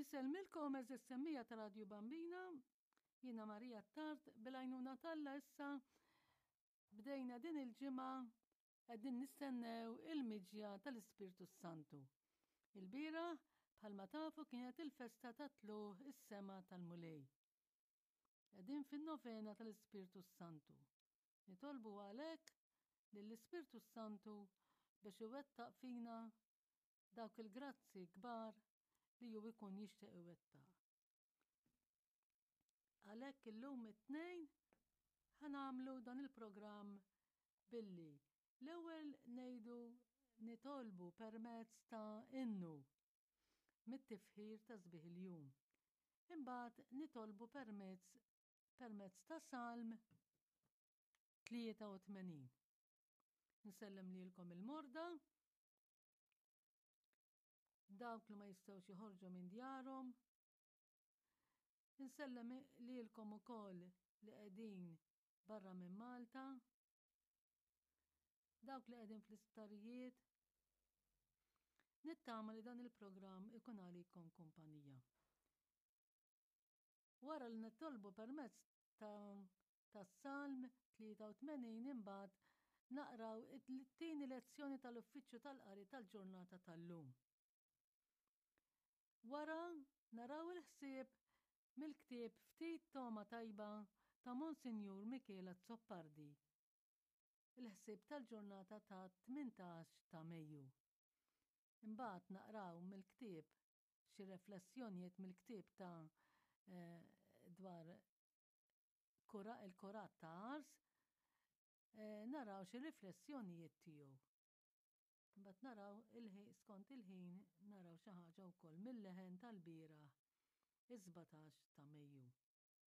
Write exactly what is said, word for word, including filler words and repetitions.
Insellmilkom għeżież semmiegħa ta' Radju Bambina, jiena Marija Tard bil-għajnuna t'Alla issa bdejna din il-ġimgħa qegħdin nistennew il-miġja tal-Ispirtu Santu. Il-bieraħ bħalma tafu kienet il-festa ta' tlugħ is-sema tal-Mulej. Qegħdin fin-novena tal-Ispirtu Santu. Nitolbu għalhekk lill-Ispirtu Santu biex iwettaq fina dawk il-grazzi kbar li hu jkun jixtieq iwettaq. Għalhekk illum it-tnejn ħa nagħmlu dan il-programm billi l-ewwel ngħidu nitolbu permezz ta' innu mit-tifħir ta' sbieħ il-jum. Imbagħad nitolbu permezz permezz ta' Salm tlieta u tmenin. Nsellem lilkom il-morda, dawk li ma jistgħux joħorġu minn djarhom. Insellem lilkom ukoll li qegħdin barra minn Malta, dawk li qegħdin fl-isptarijiet. Nittama li dan il-programm ikun għalikom kumpanija. Wara li nitolbu permezz ta' tas-Salm tlieta u tmenin imbagħad naqraw it-tieni lezzjoni tal-Uffiċċju tal-Qari tal-ġurnata tal-lum. Wara naraw il-ħsieb mill-ktieb Ftit Togħma Tajba ta' Monsinjur Michele Azzopardi. Il-ħsieb tal-ġurnata ta' tmintax ta' Mejju. Imbagħad naqraw mill-ktieb xi riflessjonijiet mill-ktieb ta' eh, dwar kura, il-kurat ta' Ars, eh, naraw xi riflessjonijiet tiegħu. Imbagħad naraw il-ħin skont il-ħin naraw xi ħaġa wkoll mill-leħen tal-bieraħ is-sbatax ta' Mejju.